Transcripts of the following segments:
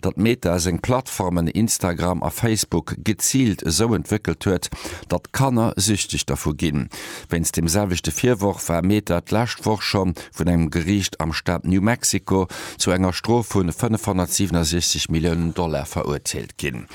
datt Meta seng Plattformen Instagram a Facebook geziilt esou entwéckelt huet, datt Kanner süchteg dervu ginn. Wéinst deem selwechte Virworf war Meta d'lescht Woch scho vun engem Geriicht am Staat New Mexico zu enger Strof vu 567 Milliounen Dollar verurteelt ginn.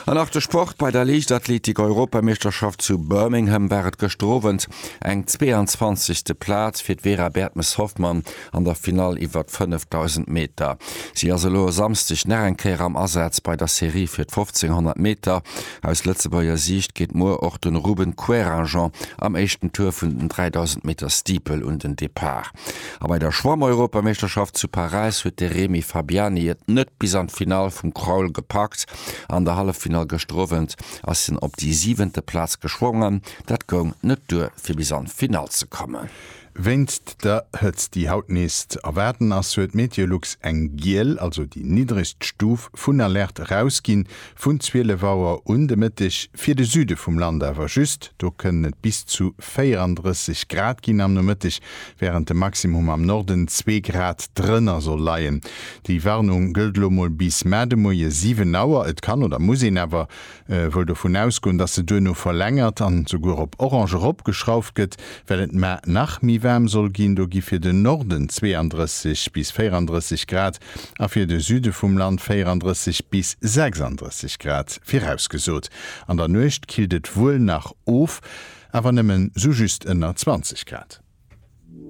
An nach de Sport, Bei der Liichtathletik-Europameeschterschaft zu Birmingham war et gëschter Owend eng 22. Plaz fir d'Vera Bertmes-Hoffmann an der Finall iwwer 5000 Meter. Si ass elo e Samsdeg nach eng Kéier am Asaz bei der Serie fir d'1500 Meter. Aus Lëtzebuerger Siicht geet muer och de Ruben Querinjean am éischten Tour vun den 3000 Meter Steeple un den Depart. A bei der Schwamm-Europameeschterschaft zu Paräis huet de Rémi Fabiani et net bis an d'Finall vum Crawl gepackt. An der Halleffinall gëschter Owend ass hien op déi siwente Plaz geschwongen. Dat goung net duer fir bis an d'Finall ze kommen. Wéinst der Hëtzt, déi haut nees ze erwaarden ass, huet Meteolux eng giel, also déi niddregst Stuf vun Alerte erausginn, vun 12 Auer un de Mëtteg, fir de Süde vum Land awer just. Do kënnen et bis zu 34 Grad ginn am Nomëtteg, wärend de Maximum am Norden zwee Grad drënner soll leien. Déi Warnung gëllt elo mol bis mar de Moie 7 Auer. Et kann oder muss een awer wuel dovun ausgoen, dass se duerno verlängert an souguer op orange eropgeschrauft gëtt, well et mar nach méi waarm soll ginn. Do gi fir den Norden 32 bis 34 Grad a fir de Süde vum Land 34 bis 36 Grad virausgesot. An der Nuecht killt et wuel nach of, awer nëmmen sou just ënner 20 Grad.